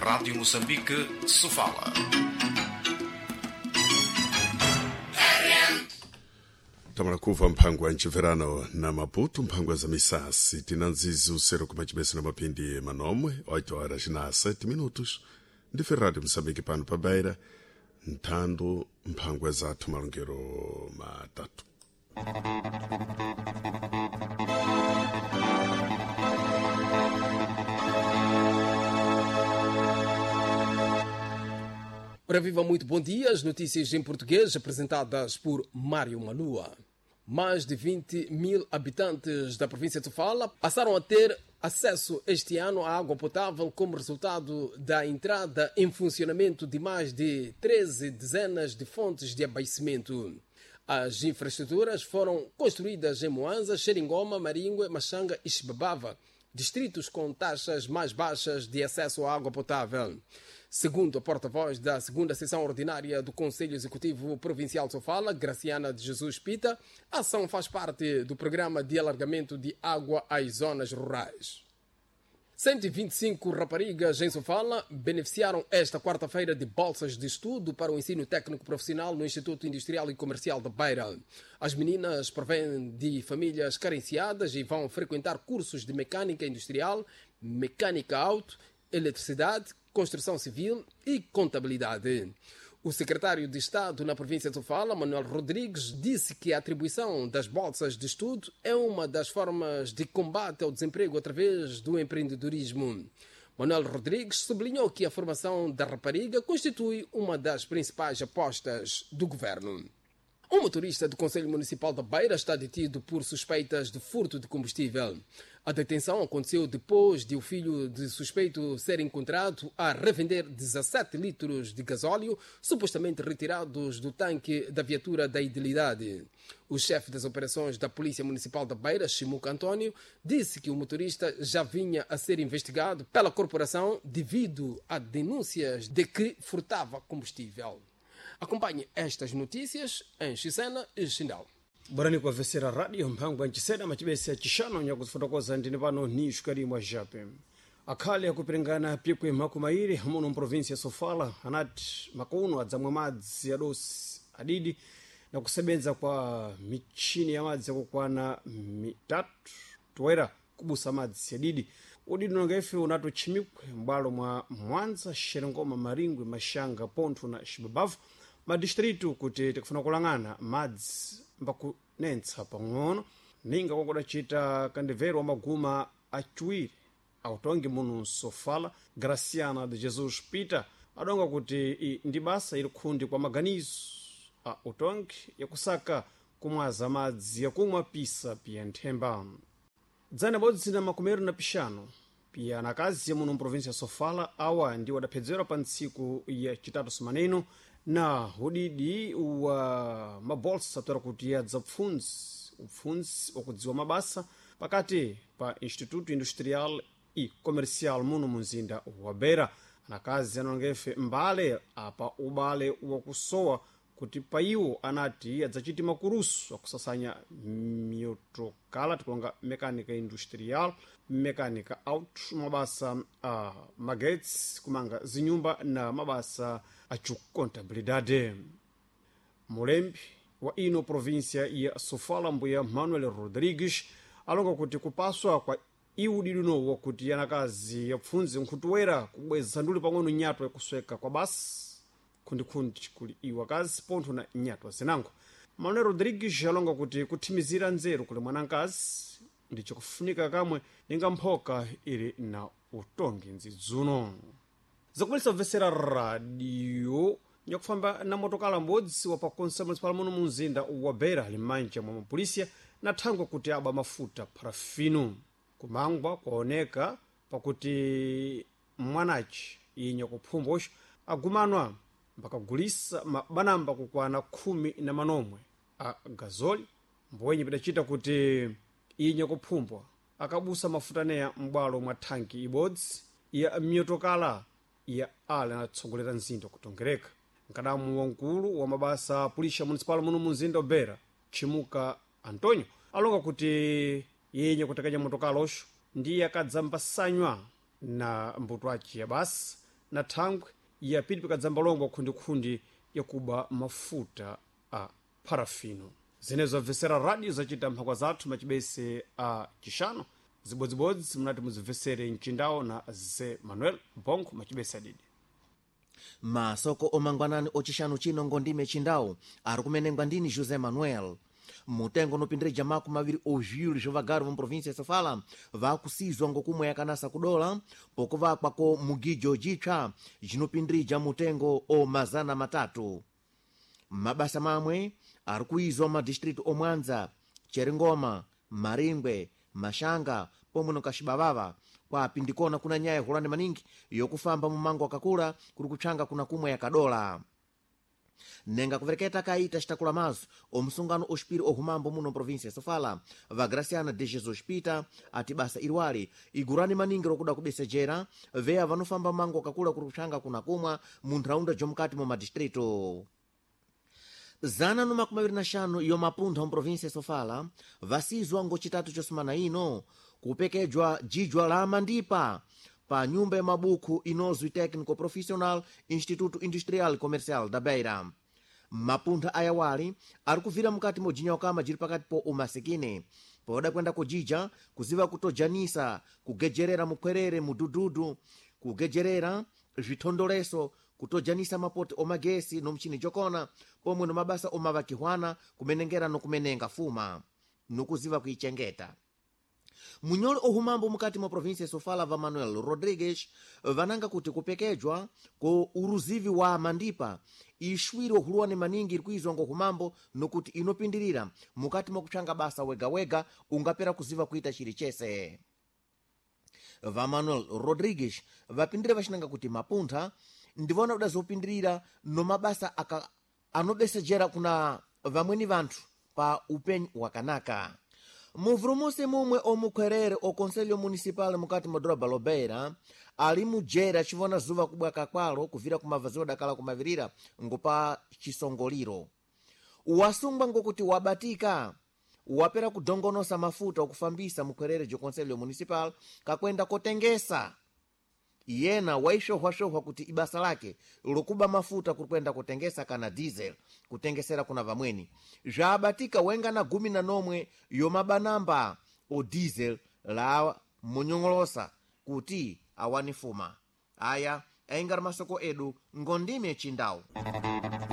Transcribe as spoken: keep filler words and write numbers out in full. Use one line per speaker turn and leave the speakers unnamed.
Rádio Moçambique, Sofala.
Tamara kuva mphango wa ncimverano na Maputo, mphango za misasi tinanzizi usero kumacibese na mapindi manomwe oito horas na sete minutos ndi Rádio Moçambique pano pa Beira nthando mphangwa zathu malongero matatu.
Ora viva, muito bom dia. As notícias em português apresentadas por Mário Malua. Mais de vinte mil habitantes da província de Sofala passaram a ter acesso este ano à água potável como resultado da entrada em funcionamento de mais de treze dezenas de fontes de abastecimento. As infraestruturas foram construídas em Moanza, Xeringoma, Maringue, Machanga e Chibabava, distritos com taxas mais baixas de acesso à água potável. Segundo a porta-voz da segunda sessão ordinária do Conselho Executivo Provincial de Sofala, Graciana de Jesus Pita, a ação faz parte do programa de alargamento de água às zonas rurais. cento e vinte e cinco raparigas em Sofala beneficiaram esta quarta-feira de bolsas de estudo para o ensino técnico profissional no Instituto Industrial e Comercial da Beira. As meninas provêm de famílias carenciadas e vão frequentar cursos de mecânica industrial, mecânica auto, eletricidade, construção civil e contabilidade. O secretário de Estado na província de Sofala, Manuel Rodrigues, disse que a atribuição das bolsas de estudo é uma das formas de combate ao desemprego através do empreendedorismo. Manuel Rodrigues sublinhou que a formação da rapariga constitui uma das principais apostas do governo. Um motorista do Conselho Municipal da Beira está detido por suspeitas de furto de combustível. A detenção aconteceu depois de o filho de suspeito ser encontrado a revender dezassete litros de gasóleo supostamente retirados do tanque da viatura da Idilidade. O chefe das operações da Polícia Municipal da Beira, Chimuca António, disse que o motorista já vinha a ser investigado pela corporação devido a denúncias de que furtava combustível. Acompanhe estas notícias em Xisena e Xindal.
Barani kwa vesera radio mphango ancisena macibese acixano nyakuzifotokoza ndine pano ni xukali jape akhale akupiringana pikwe makumairi muno mprovinsia ya Sofala anati makuno adzamwa madzi adosi adidi na kusebenza kwa michini ya madzi yakukwana mitatu toera kubusa madzi adidi udidi nonga ife unatochimikwe m'bwalo mwa Mwanza, Xerengoma, Maringwe, Mashanga, Pontho na Xibabavu madistritu kuti tikufuna kulang'ana madzi mbakunentsa pang'ono ninga kwakudacita kandivero wa maguma aciwiri autongi muno Sofala, Graciana de Jesus Peter adonga kuti i ndi basa ili khundi kwa maganizo a utongi yakusaka kumwaza madzi yakumwa pisa piya nthemba. Dzana bodzi na makumero na pixano piya anakazi muno mprovinsia ya Sofala awa ndi wadaphedzerwa pa ntsiku ya citatu sumaneno na udidi wa mabolsa toera kuti yadza pfundzi upfundzi wakudziwa mabasa pakati pa Instituto Industrial e Comercial muno munzinda wa Beira. Anakazi anongefe mbale apa ubale wakusowa kuti paiwo anati adzachiti makurusu akusasanya miotokala tikulonga mekanika industrial, mekanika auto, mabasa a magetsi, kumanga zinyumba na mabasa acukontabilidade. Mulembi wa ino província ya Sofala, mbuya Manuel Rodrigues, alonga kuti kupaswa kwa iudiduno wakuti anakazi yapfundzi nkhutuwera kubweza nduli pang'ono nyato yakusweka kwa basi khundikhundi kuli iwo akazi pontho na nyatwa zinango. Manuel Rodrigues alonga kuti kuthimizira nzeru kuli mwanankazi ndi chikufunika kamwe ninga mphoka ili na utongi nzidzuno. Zakumalisa kubvesera radio nyakufamba na motokala m'bodzi wa pa konsa municipal muno mu mzinda wa Beira ali m'manja mwa mapolisiya na thangwe kuti aba mafuta parafino. Kumangwa kwaoneka pakuti mwanaci inya kuphumbosha agumanwa mbakagulisa mabanamba kukwana khumi na manomwe a gazoli mbwenye pidacita kuti inya kuphumbwa akabusa mafuta neya m'bwalo mwa thanki ibodzi ya miyotokala ya ale anatsogolera mzinda kutongereka. Mkadamu wamkulu wa mabasa a pulisha municipal muno mu mzinda wa Beira, Chimuka Antonio, alonga kuti yenye kutekenya motokala oxo ndiye akadzambasanywa na mbuto aci ya basa na thangwe ya pili pikadzambalongwa khundikhundi yakuba mafuta a parafino. Zinezo abvesera radio zacita mphangwa zathu macibese a cixano zibodzibodzi munati muzibvesere mcindawo na Ze Manuel Bongo macibese adidi.
Masoko omangwanani ocixanu chino ngondime chindawu ari kumenengwa ndini José Manuel. Mutengo unopindirija maku maviri oviwiri zvovagari vomuprovinsia ya Sofala vakusizwa ngokumwe yakanasa kudola pokuvakwa ko mugijo jipsa jinopindirija mutengo o mazana matatu. Mabasa mamwe ari kuizwa madistritu omwanza, Cheringoma, Maringwe, Mashanga pomwe no Kaxibavava, kwapi ndikona kuna nyaya hulani maningi yokufamba mumango wakakula kuri kupsanga kuna kumwe yakadola. Nenga kuvereketa kaita xitakula mazo omusungano oxipiri ohumambo muno província ya Sofala, va Graciana de Jesus Pita ati basa iriwali igurani maningi rokuda kubesejera veya vanofamba mango wakakula kuri kupsanga kuna kumwa mu ntharaunda jomukati mwa madistrito. Zana no makumi maviri na xanu yomapuntha mu província ya Sofala vasizwa ngocitatu cosumana ino kupekejwa jijwa la mandipa pa nyumba ya mabuku inozwi Técnico Profissional Instituto Industrial Comercial da Beira. Mapuntha ayawali ari kuvira mukati mojinyokama jiri pakati po umasikini poda kwenda kujija kuziva kutojanisa kugejerera mukhwerere mudududu kugejerera zvithondoleso kutojanisa mapoti omagesi nomchini jokona pomwe no mabasa omavakihwana kumenengera nokumenenga fuma nokuziva kuichengeta. Munyoli ohumambo mukati mwa província ya Sofala va Manuel Rodrigues vananga kuti kupekejwa ko uruzivi wa mandipa ishwiri ohuluwane maningi iri kuizwa ngohumambo nokuti inopindirira mukati mwa kupsanga basa wega-wega ungapera kuziva kuita chiri chese. Va Manuel Rodrigues vapindire vachinanga kuti mapuntha ndivona kuda zopindirira nomabasa aka anobesejera kuna vamweni vanthu pa upenyu wakanaka. Muvurumusi mumwe omukhwerere o conselho municipal mukati mwa doroba lobeira ali mujera acivona zuva kubwaka kwalo kuvira kumavaziwa dakala kumavirira ngopa cisongoliro. Wasungwa ngokuti wabatika wapera kudongonosa mafuta okufambisa mukhwerere jo conselho municipal kakwenda kotengesa. Yena waixohwaxohwa kuti ibasa lake lokuba mafuta kuri kwenda kutengesa kana diesel kutengesera kuna vamweni. Zvabatika wenga na gumi na nomwe yomabanamba o diesel la munyong'olosa kuti awani fuma. Aya aingari masoko edu ngondime chindau.